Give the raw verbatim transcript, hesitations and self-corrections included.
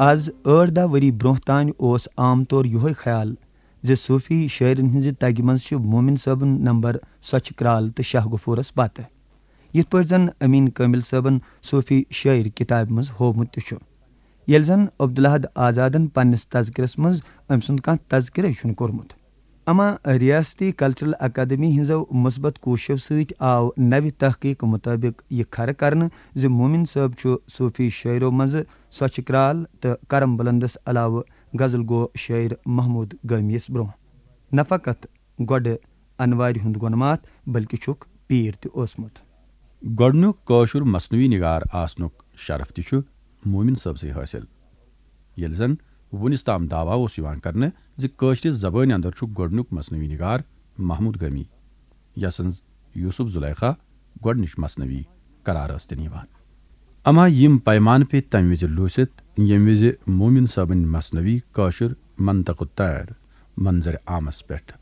از ٲٹھ دَہ ؤری برونٛہہ تانۍ اوس عام طور یِہوٚے خیال زِ صوٗفی شٲعرن ہٕنٛزِ تگہِ منٛز چھِ مومن صٲبُن نمبر سۄچھِ کرٛال تہٕ شاہ غفورس پتہٕ۔ یِتھ پٲٹھۍ زن امین کٲمل صٲبن صوٗفی شٲعر کتابہِ منٛز ہوومُت تہِ چھُ، ییٚلہِ زن عبدالاحد آزادن پننِس تذکرس منٛز أمۍ سُنٛد کانٛہہ تذکرے چھُنہٕ کوٚرمُت۔ اما ریاستی کلچرل اکادمی ہٕنٛزو مثبت کوٗششو سۭتۍ آو نوِ تحقیق مطٲبق یہِ کھرٕ کرنہٕ زِ مومن صٲب چھُ صوٗفی شٲعرو منٛزٕ سۄچھِ کرٛال تہٕ کرم بلندس علاوٕ غزل گو شٲعر محمود گٲمی یس برونٛہہ نہ فقط گۄڈٕ انوارِ ہُنٛد گۄنہٕ ماتھ، بلکہِ چھُکھ پیٖر تہِ اوسمُت۔ گۄڈٕنیُک کٲشُر مثنوی نگار آسنُک شرف تہِ چھُ مومن صٲبسٕے حٲصِل، ییٚلہِ زن وُنِس تام دعویٰ اوس یِوان کرنہٕ زِ کٲشرِ زبٲنۍ اندر چھُ گۄڈٕنیُک مثنوی نگار محمود گٲمی، یسٕنز یوسف زلیخا گۄڈٕنِچ مثنوی قرار ٲس دِنہٕ یِوان۔ اما یِم پیمانہٕ پیٚیہِ تمہِ وِزِ لوٗسِتھ، ییٚمہِ وِزِ مومن صٲبٕنۍ مثنوی کٲشُر منطق الطیر منظر عامس پٮ۪ٹھ